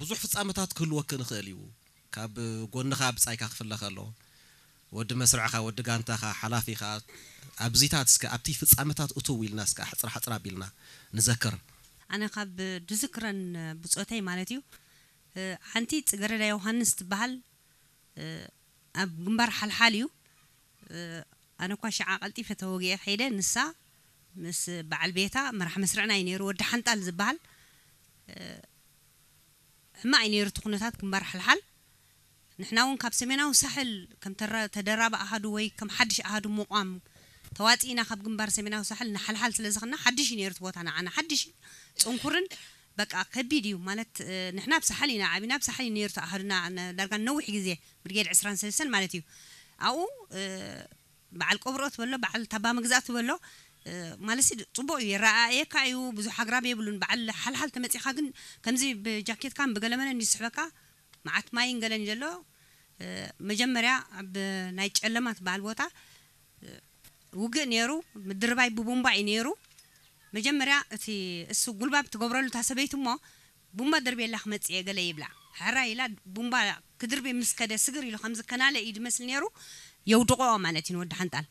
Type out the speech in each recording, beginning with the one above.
ብዙሕ ፍጻመታት ክህልወኪ ንኽእል እዩ። ካብ ጎንኻ ብጻይካ ክፍለ ከሎ፣ ወዲ መስርዕኻ፣ ወዲ ጋንታኻ፣ ሓላፊኻ፣ ኣብዚታት እስከ ኣብቲ ፍጻመታት እትው ኢልና እስከ ኣሕጽር ሓጽር ኣቢልና ንዘክር። ኣነ ካብ ድዝክረን ብጾተይ ማለት እዩ፣ ሓንቲ ጽገረዳ ዮሃንስ ትበሃል፣ ኣብ ግንባር ሓልሓል እዩ። ኣነ እኳ ሽዓ ቀልጢፈ ተወጊኤ ከይደ፣ ንሳ ምስ በዓል ቤታ መራሕ መስርዕና እዩ ነይሩ፣ ወዲ ሓንጣል ዝበሃል። ሕማቕ እዩ ነይሩ እቲ ኩነታት ግንባር ሓልሓል። ንሕና እውን ካብ ሰሜናዊ ሳሕል ከም ተራ-፣ ተደራቢ ኣሃዱ ወይ ከም ሓድሽ ኣሃዱ ምቋም ተዋፂእና ካብ ግንባር ሰሜናዊ ሳሕል ንሓልሓል ስለ ዝኸና ሓድሽ እዩ ነይሩ እቲ ቦታ ንዓና። ሓድሽ እዩ፣ ጽንኩርን በቃ ከቢድ እዩ ማለት፣ እ፣ ንሕና ኣብ ሳሕል ኢና ዓቢና፣ ኣብ ሳሕል እዩ ነይሩ እቲ ኣሃዱና ነ-፣ ዳርጋ ነዊሕ ግዜ ብርጌድ ዕስራን ሰለስተን ማለት እዩ። ኣብኡ፣ እ፣ በዓል ቆብሮ ትበሎ፣ በዓል ታባ መግዛእቲ ትበሎ፣ እ፣ ማለትሲ ጽቡቕ እዩ፣ የረኣእየካ እዩ፣ ብዙሕ ኣግራብ የብሉን። በዓል ሓልሓል ተመጺኻ ግን ከምዚ ብጃኬትካን ብገለመለን እዩ ዝስሕበካ። መዓት ማይን ገለን ዘሎ፣ እ፣ መጀመርያ ኣብ ናይ ጨለማ ትበሃል ቦታ፣ እ፣ ውግእ ነይሩ፣ ምድርባይ ብቡምባ እዩ ነይሩ። መጀመርያ እቲ እሱ ጉልባብ ትገብረሉ እታ ሰበይቲ እሞ፣ "ቡምባ ደርብየላ ክመጽእ እየ" ገለ ይብላ። ሕራይ ኢላ ቡምባ ክድርቢ ምስ ከደ ስግር ኢሉ ከም ዝከናለ እዩ ዝመስል ነይሩ። የውድቆ ማለት እዩ ንወዲ ሓንጣል።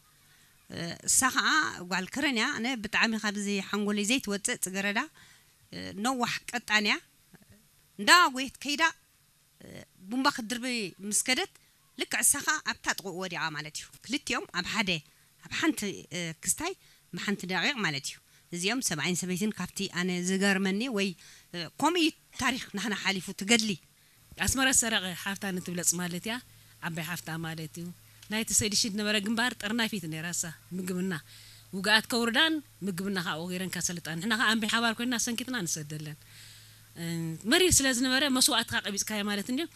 እ፣ እሳ ኸዓ ጓል ከረን እያ። ኣነ ብጣዕሚ ካብዚ ሓንጎለይ ዘይትወጽእ ጽገረዳ፣ እ፣ ነዋሕ ቀጣን እያ። እንዳ ጎየት ከይዳ ቡምባ ክትድርቢ ምስ ከደት፣ ልክዕ እሳ ኸኣ ኣብታ ጥቕኡ ወዲቓ ማለት እዩ። ክልቲኦም ኣብ ሓደ፣ ኣብ ሓንቲ፣ እ፣ ክስታይ ብሓንቲ ደቂቕ ማለት እዩ። እዚኦም ሰብኣይን ሰበይትን ካብቲ ኣነ ዝገርመኒ ወይ፣ እ፣ ከምኡ እዩ ታሪኽ ናህና ሓሊፉ ትገድሊ። ኣስመረት ሰረቐ ሓፍታ ንትብለጽ ማለት እያ። ዓባይ ሓፍታ ማለት እዩ። ናይቲ ሰይዲ ሽድ ነበረ ግንባር ጠርናፊት ነይራ እሳ፣ ምግብና። ውግኣት ከውርዳን ምግብና ከዓ ወጊረን ከሰልጣን። ንሕና ከዓ ኣንቢ ሓባር ኮይንና ሰንኪትና ንሰደለን። እ፣ መሪር ስለ ዝነበረ መስዋእትኻ ቀቢጽካዮ ማለት እንድዩ።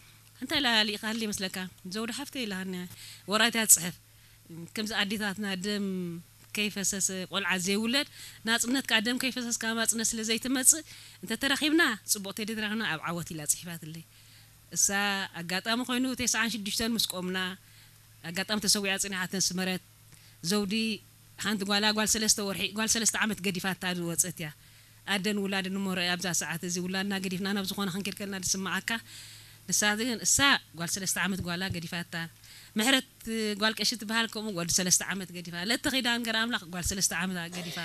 እንታይ ኢላ ሊኢኻሉ ይመስለካ? ዘውዲ ሓፍተይ ኢላሃኒ ወራይታ ትጽሕፍ። ከምዚ ኣዴታትና ደም ከይፈሰሰ ቆልዓ ዘይውለድ፣ ናጽነት ከኣ ደም ከይፈሰስካ ናጽነት ስለ ዘይትመጽእ፣ እንተ ተራኺብና ጽቡቕ፣ ተደይተራኺብና ኣብ ዓወት ኢላ ጽሒፋትለይ። እሳ ኣጋጣሚ ኮይኑ ተስዓን ሽዱሽተን ምስ ቆምና፣ ኣጋጣሚ ተሰዊኣ ጽኒሓተን ስመረት ዘውዲ ሓንቲ ጓላ፣ ጓል ሰለስተ ወርሒ፣ ጓል ሰለስተ ዓመት ገዲፋታ ዝወጸት እያ። ኣደን ውላድን እሞ ርኣይ ኣብዛ ሰዓት እዚ ውላድና ገዲፍና ናብ ዝኾነ ክንከይድ ከለና ዝስምዓካ። ንሳ ግን፣ እሳ ጓል ሰለስተ ዓመት ጓላ ገዲፋታ። ምሕረት ጓል ቀሺ ትበሃል ከምኡ ወዲ ሰለስተ ዓመት ገዲፋ። ለተ ኺዳን ገረ ኣምላኽ ጓል ሰለስተ ዓመት ገዲፋ።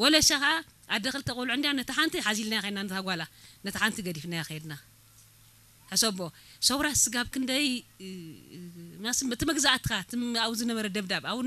ወለሻ ኸኣ ኣደ ክልተ ቆልዑ እንድያ፣ ነታ ሓንቲ ሓዚልናያ ኸይድና ነታ ጓላ፣ ነታ ሓንቲ ገዲፍናያ ኸይድና። ሕሰቦ፣ ሰውራ ስጋብ ክንደይ፣ እ፣ እ፣ ማስ-፣ እቲ መግዛእትኻ፣ እቲ ኣብኡ ዝነበረ ደብዳብ፣ ኣብኡ